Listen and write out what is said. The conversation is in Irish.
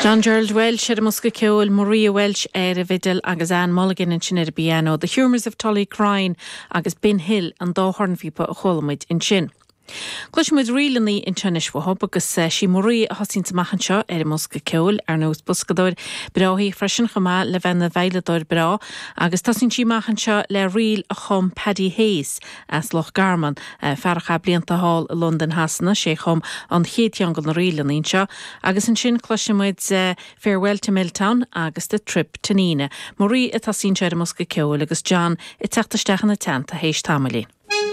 John Gerald Walsh ar an mbosca ceoil, Maria Walsh ar an bhfidil agus Anne Mulligan ansin ar an bpianó. The Humours of Tullycrine agus Bin Hill an dá chornphíopa a chuala muid ansin. Cloisfidh muid ríleanna anseo anois uathub agus sí Maria a thosaíonns amach anseo ar an mbosca ceoil, ar ndóigh is boscadóir breá í freisin chomh maith le bheith ina veidhleadóir breá agus tosaíonn sí amach anseo le ríl a chum Paddy Hayes as Loch Garman, fear a chaith blianta thall i Londain Shasana, sé a chum an chéad cheann de na ríleanna anseo agus ansin cloisfidh muid Farewell to Milltown agus The Trip to Nenagh. Maria a tosaíonn anseo ar an mbosca ceoil agus John ag teacht isteach ina teannta théis tamaillín.